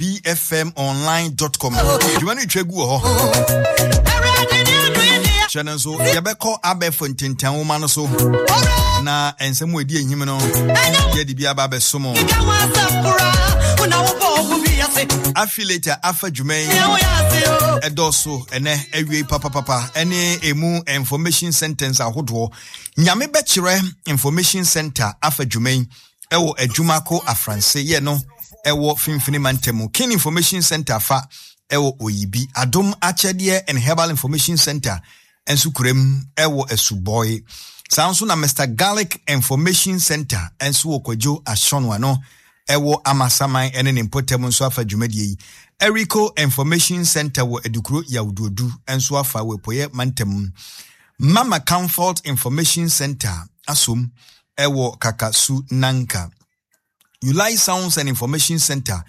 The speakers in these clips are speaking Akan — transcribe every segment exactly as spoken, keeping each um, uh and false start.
bfmonline dot com dwuma no twa gu wɔ hɔ. Kyerɛ no nso, yɛbɛkɔ abɛɛfo ntentan nwoma no so na nsɛm a ɛdi ahim no yɛde bi aba abɛso mo. Affiliate a afa dwuma yi ɛdɔɔso ɛnɛ awie papapapa, ɛne emu information centers ahodoɔ. Nyame Bɛkyerɛ Information Center afa dwuma yi ɛwɔ Adwumako Afranse yɛ no ɛwɔ Finfini Mantamu. King Information Center fa ɛwɔ Oyibi. Adom Akyɛdeɛ and Herbal Information Center nso kuram ɛwɔ Asubɔe. Saa nso na Mister Garlic Information Center nso wɔ Kwadwo Ahyɔno ano ɛwɔ Amasaman ɛne ne mpɔtam nso afa dwumadie yi. Erico Information Center wɔ Adukuro Yawuduodu nso afa wɔ Epoyɛ Mantam. Mama Comfort Information Center asom ɛwɔ Kakasu Nanka. Ulai Sounds and Information Center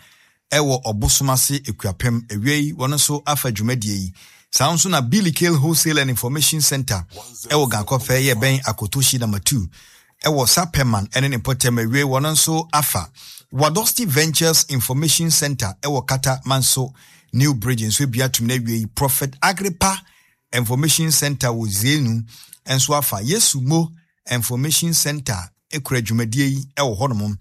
ɛwɔ Ɔbosomase Ekuapem ewie, wɔn nso afa dwumadie yi. Saa nso na Billy Kale Wholesale and Information Center ɛwɔ Gankɔfɛ yɛ bɛn Akotoshi Number two ɛwɔ Sapɛman ɛne ne mpɔtam awie, wɔn nso afa. Wadosti Ventures Information Center ɛwɔ Kata Manso New Bridge nso ebia tum na awie yi. Prophet Agrippa Information Center wɔ Zenu nso afa. Yesu Mo Information Center ekura dwumadie yi ɛwɔ hɔnom.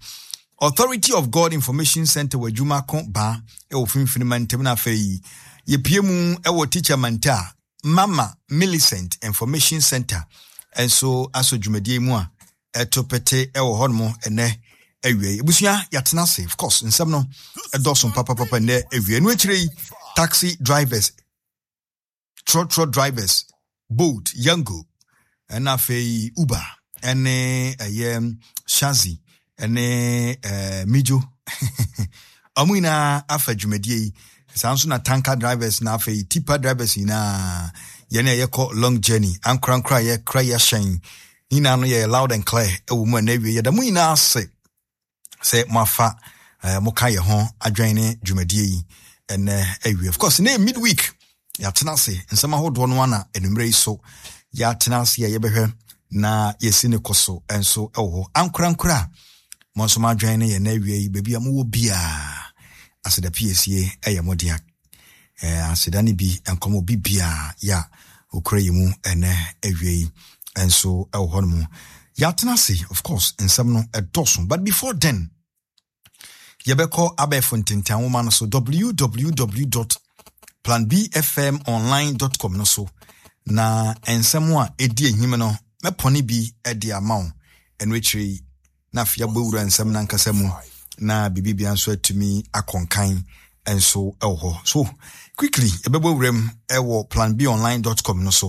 Authority of God Information Center wɔ Adwuma ko baa ɛwɔ Finfin Mantam. Na afei yɛpie mu ɛwɔ Teacher Manta, Mama Millicent Information Center nso asɔ dwumadie mu a ɛto pete ɛwɔ hɔnom ɛnɛ awie. Ebusua, yɛatena ase. Of course, nsɛm no ɛdɔɔso papapapa nnɛ awie no. Akyire yi, taxi drivers, trɔtrɔ drivers, Bolt, Yango, ɛna afei Uber ɛne ɛyɛ Shazi ɛne ɛɛ Mijo, ɔmo nyinaa afa dwumadie yi. Saa nso na tanker drivers na afei tipper drivers nyinaa, yɛne a yɛkɔ long journey, ankorankora a yɛkora yɛhyɛn nyinaa no, yɛ loud and clear ɛwɔ mu a na awie. Yɛda mo nyinaa ase sɛ moafa eh, moka yɛ ho adwene ne dwumadie yi ɛnɛ awie. Of course, ne midweek yɛatena ase, nsɛm ahodoɔ no ana anummerɛ yi so yɛatena ase a yɛbɛhwɛ na yɛsi ne kɔ so nso ɛwɔ hɔ. Ankorankora a mo nso mo adwene ne yɛn awie yi, baabi a mowɔ biaa, aseda piesie ɛyɛ mo dea. eh, aseda no bi nkɔmɔ bi biaa yɛ a okura yi mu ɛnɛ awie yi nso ɛwɔ hɔ nom. Yɛatena ase, of course, nsɛm no ɛdɔso, but before then yɛbɛkɔ abɛɛfo ntentan nwoma no so, w w w dot planbfmonline dot com no so, na nsɛm a ɛdi ahim no mɛpɔne bi de ama wo. Ɛno akyire yi na afei abɔ wura nsɛm no ankasa mu na biribibia nso atumi akɔnkan nso ɛwɔ hɔ. So quickly, yɛbɛbɔ wura mu ɛwɔ planbonline dot com no so.